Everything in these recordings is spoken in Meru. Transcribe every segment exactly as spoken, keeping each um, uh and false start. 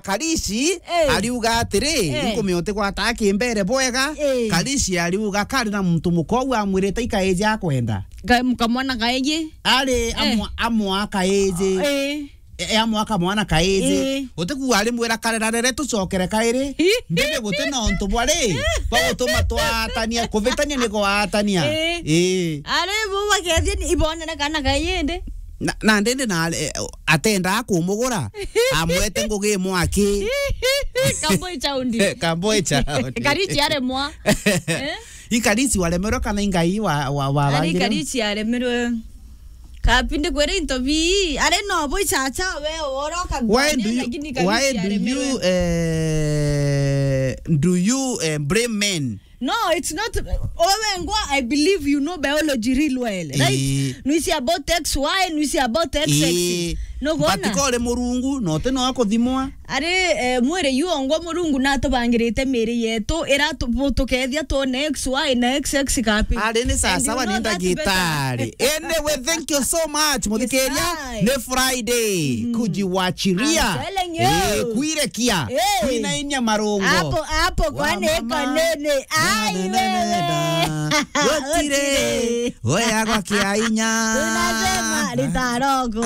Karici, eh, ariuga atiri, eh, nkumia utigwata kimbere bwega. Eh. Karici ariuga kari na muntu mukogu amwirite ikaiji akwenda. Ka-, kamwana kaiji. Ari, eh, amwa-, amwa kaiji. Eh. E, e, amwa kamwana kaiji. Eh. Utikuga ari mwira karerarere tucokere kairi. Mbere guti na untu bwari, bwa gutuma twatania, kuvitania ni gwatania. Eh. Eh. Ari bo bakethia ni ibonere kana kaiji ndi. Na, na ndindi na, eh, atendaa kumugura, amwete ngugi imwe aki. Kamboi chaundi. Kamboi chaundi. Karici aremwa. Eh? Ikarisi waremerwe kana ingai wa, wa, wa, ari bagire? Ikarisi aremerwe. Kapinde kwere into bi, ari no bo ichacha we oro kagwani, lakini Ikarisi aremerwe. Why do you, why do you, eh, do you, eh, blame men? No, it's not. Owe ngwa, I believe you know biology real well, right? Ii. Nwisi about X Y, nwisi about X X. Ii. No gona? But ko uri murungu, no te no kuthimwa. Ari, eh, mwiri yu ongwa Murungu natubangirite miri yetu, ira tu-, bu-, tukethia twone X Y na X X kapi. Ari ni sawa sawa, ni ndagitari. And you know that better. Anyway, thank you so much, muthikiria. Yes, I. Ni Friday, mm, kujiwachiria. I'm telling you. Eh, kuirekia. Eh. Kuinainia marungo. Hapo, hapo kwa neka nene. Ai, wewe. Gutire. Gutire. Oya gwa kiainya. Tunasema litaroko.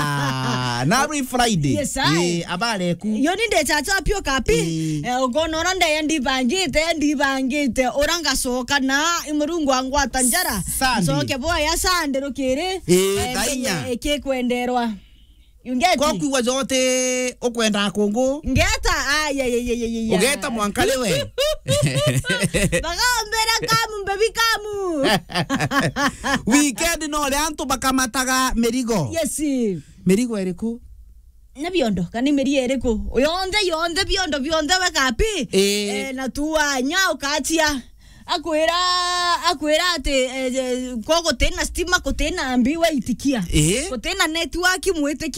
Ah, na every Friday. Yes, I. Eh, abare ku. Yo ni nde chacha pio kapi. Eh. Eh, ukoona ura ndeye ndibangite, ndibangite. Ura ngacoka na i Murungu angwata njara. Sunday. Ncoke boya Sunday rukiri. Eh, eh, thaa inya. Ikikwenderwa. You get it? Ko kwigua jote ukwenda kungu. Ngeta, ai, ai, ai. Ugeta mwanka riwe. Bagombera kamu, baby kamu. Weekend no ri antu bakamataga mirigo. Yes. Mirigo iriku? Na biondo, kana miri iriku? Yonthe, yonthe, biondo, bionthe we kapi. Eh. Eh, na tuanya ukachia. Akwira, akwira ati, eh, eh, ko gutina stima, gutina mbi, we itikia. Eh. Gutina network, mwitikia.